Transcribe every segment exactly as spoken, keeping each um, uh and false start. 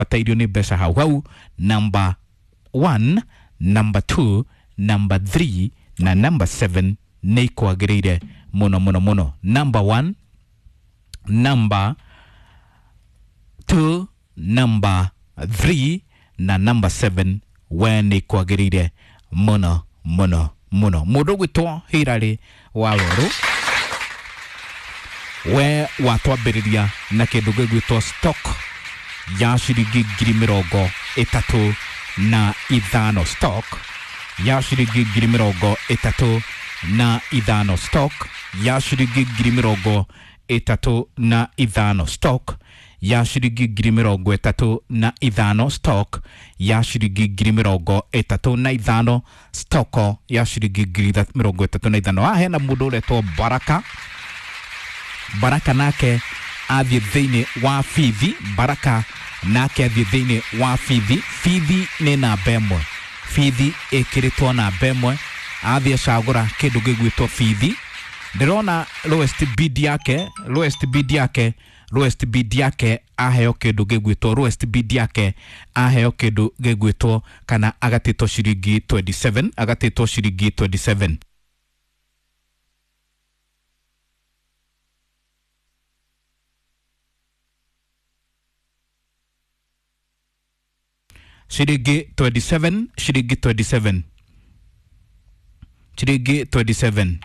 Ũbatairio nĩ mbeca hau hau. Number one, number two, number three na number seven nĩ ikwagĩrĩire mũno mũno mũno. Number one, number two, number three na number seven we nĩ ikwagĩrĩire mũno mũno mũno. Mũndũ ũgwĩtwo Hilary Wawerũ, we watwambĩrĩria na kĩndũ gĩgwĩtwo stock ya ciringi ngiri mĩrongo ĩtatũ na ithano. Stock ya ciringi ngiri mĩrongo ĩtatũ na ithano. Stock ya ciringi ngiri mĩrongo ĩtatũ na ithano. Stock ya ciringi ngiri mĩrongo ĩtatũ na ithano. Stock ya ciringi ngiri mĩrongo ĩtatũ na ithano. Stock ya ciringi ngiri mĩrongo ĩtatũ na ithano. Haha hena mũndũ ũretwo Baraka. Baraka nake athiĩ thĩinĩ wa Bithi. Baraka nake athiĩ thĩinĩ wa Bithi. Bithi nĩ namba ĩmwe, Bithi ĩkĩrĩtwo namba ĩmwe. Athiĩ acagũra kĩndũ gĩgwĩtwo Bithi. Ndĩrona lowest bid yake, lowest bid yake, lowest bid yake aheo kĩndũ gĩgwĩtwo lowest bid yake aheo kĩndũ gĩgwĩtwo kana agatĩtwo ciringi twenty-seven, agatĩtwo ciringi twenty-seven. Ciringi twenty-seven, ciringi twenty-seven, ciringi twenty-seven,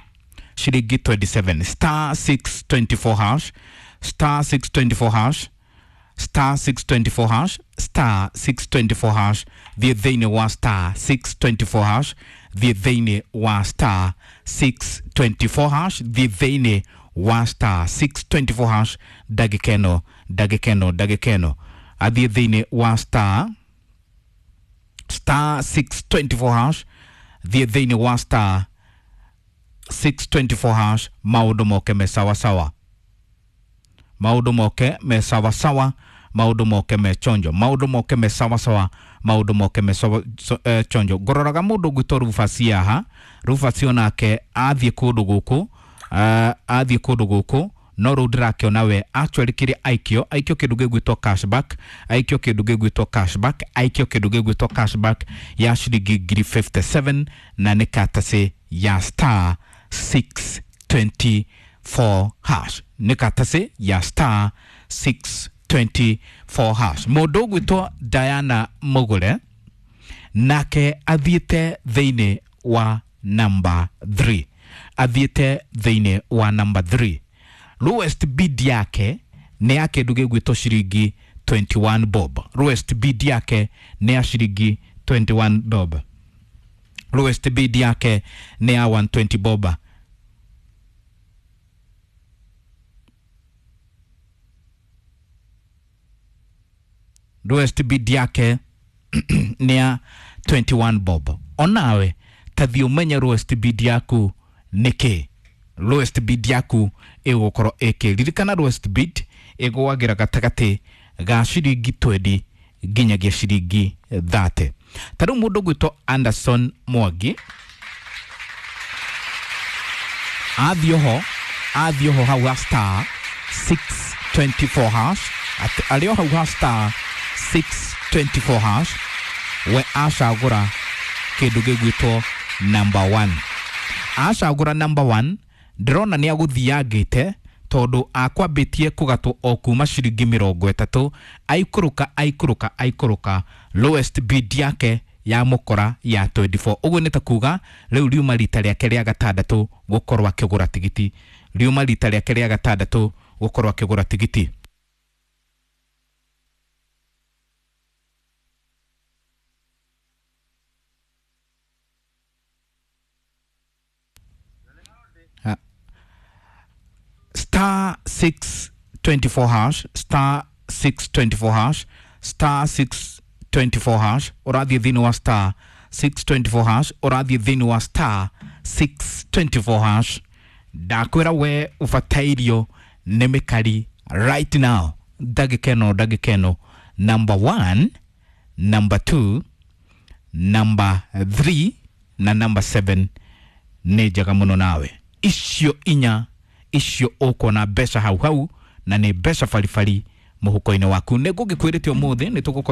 ciringi twenty-seven. Star six twenty-four hash, star six twenty-four hash, star six twenty-four hash, star six twenty-four hash. Thiĩ thĩinĩ wa star six twenty-four hash, thiĩ thĩinĩ wa star six twenty-four hash, thiĩ thĩinĩ wa star six twenty-four hash. Ndagĩka ĩno, ndagĩka ĩno, ndagĩka ĩno athiĩ thĩinĩ wa star star six twenty-four hash, thiĩ thĩinĩ wa star six twenty-four hash. Maũndũ moke me sawa sawa, maũndũ moke me sawa sawa, maũndũ moke me chonjo, maũndũ moke me sawa sawa, maũndũ moke me sawa, so, eh, chonjo. Ngũroraga mũndũ ũgwĩtwo Rufus haha. Rufus onake athiĩ kũndũ gũkũ, uh, athiĩ kũndũ gũkũ no rĩu ndĩrakĩona we actually kĩrĩa aikio, aikio kĩndũ gĩgwĩtwo cashback, aikio kĩndũ gĩgwĩtwo cashback, aikio kĩndũ gĩgwĩtwo cashback ya ciringi ngiri fifty-seven na nĩ katacĩ ya star six twenty-four hash, nĩ katacĩ ya star six twenty-four hash. Mũndũ ũgwĩtwo Diana Mũgũre nake athiĩte thĩinĩ wa number three, athiĩte thĩinĩ wa number three. Lowest bid yake nĩ ya kĩndũ gĩgwĩtwo ciringi twenty-one bob. Lowest bid yake nĩ ya ciringi twenty-one bob. Lowest bid yake nĩ ya one twenty bob. Lowest bid yake nĩ ya twenty-one bob. Onawe tathiĩ ũmenye lowest bid yaku nĩ kĩ. Lowest bid yaku ĩgũkorwo ĩkĩ. Ririkana lowest bid ĩgũagĩra gatagatĩ ga ciringi twenty nginyagia ciringi thirty. Ta rĩu mũndũ ũgwĩtwo Anderson Mwangi athiĩ oho, athiĩ oho hau ha star six twenty-four hash, arĩ o hau ha star six twenty-four hash, we acagũra kĩndũ gĩgwĩtwo number one. Acagũra number one, ndĩrona nĩ agũthiangĩte tondũ akwambĩtie kũgatwo o kuma ciringi mĩrongo ĩtatũ, aikũrũka aikũrũka aikũrũka, lowest bid yake ya mũkora ya twenty-four. Ũguo nĩ ta kuga rĩu riuma rita rĩake rĩa gatandatũ gũkorwo akĩgũra tigiti, riuma rita rĩake rĩa gatandatũ gũkorwo akĩgũra tigiti. Star six twenty-four hash, star six twenty-four hash, star six twenty-four hash, ũrathiĩ thĩinĩ wa star six twenty-four hash, ũrathiĩ thĩinĩ wa star six twenty-four hash. Ndakwĩra we ũbatairio nĩ mĩkari right now, ndagĩka ĩno, ndagĩka ĩno. Number one, number two, number three na number seven nĩ njega mũno nawe. Icio inya icio ũkuona mbeca hau hau na nĩ mbeca baribari Mũhuko-inĩ waku. Nĩ ngũgĩkwĩrĩte ũmũthĩ nĩ tũgũkorwo